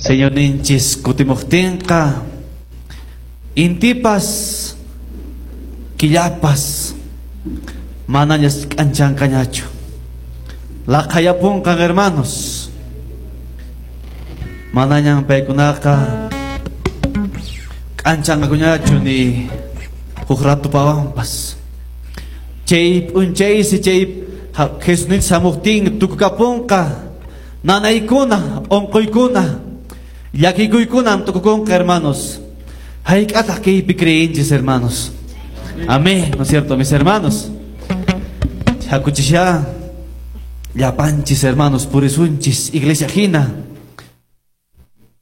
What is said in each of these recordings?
Señorninchis kutimuqtinqa intipas killapas manañas k'anchanqañachu. Laqhayapunqan, hermanos. Manañan paykunaqa k'anchanqakuñachu ni huk ratupawanpas. Chay p'unchaysi chay Jesusninchis hamuqtin tukukapunqa nanaykuna, unquykuna, llakikuykunam tukukunqa, hermanos. Hayk'ataq kaypi creenchis, hermanos? Amén, ¿no es cierto, mis hermanos? Hakuchisya llapanchis, hermanos, purisunchis iglesia hina.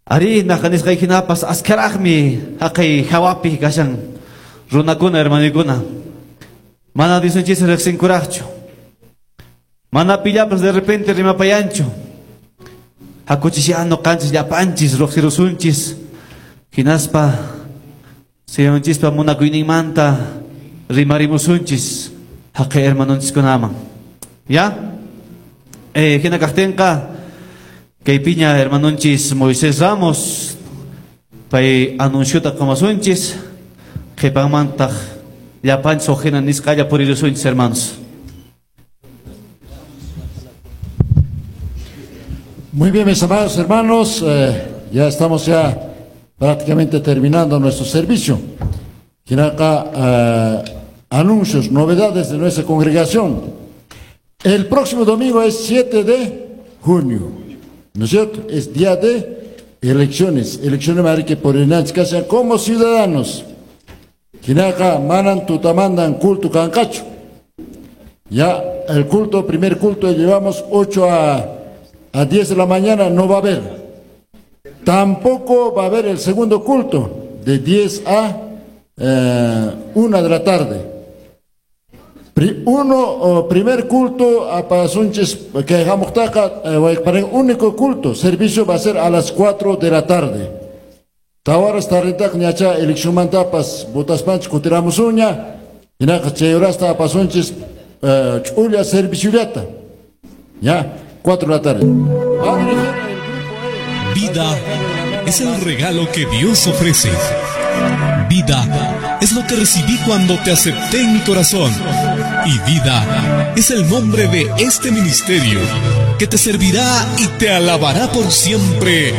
Ari naqanisqay hinapas askharaqmi haqay hawapi kashan runakuna, hermanokuna. Mana Diosninchis riqsinkuraqchu. Mana pillapas de repente rimapayanchu. Hakuchisya ñuqanchis llapanchis riqsirusunchis. Hinaspa Señorchispa munakuyninmanta rimarimusunchis haqay hermanonchiskunaman. ¿Ya? Hina kaqtinqa kaypiña hermanonchis Moisés Ramos pay anunciota qumasunchis qhipanmantaq llapanchis huk hina nisqalla purirusunchis, hermanos. Muy bien, mis amados hermanos, ya estamos ya prácticamente terminando nuestro servicio. Hinaqa, anuncios, novedades de nuestra congregación. El próximo domingo es 7 de junio, ¿no es cierto? Es día de elecciones, elecciones que por el como ciudadanos. Hinaqa, manan tutamantan culto kanqachu. Ya el culto, primer culto, llevamos 8 a 10 de la mañana, no va a haber. Tampoco va a haber el segundo culto, de 10 a 1 de la tarde. Primer culto a pasunchis que hamuqtaqa, para el único culto, servicio va a ser a las 4 de la tarde. Tawaras tarritaq ñacha eleccionmantapas votaspanchis kutiramusuña, hinaqa chay horasta apasunchis ch'ulla serviciollata. Ya, 4 de la tarde. Vida es el regalo que Dios ofrece. Vida es lo que recibí cuando te acepté en mi corazón. Y vida es el nombre de este ministerio que te servirá y te alabará por siempre.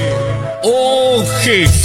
¡Oh, Jesús!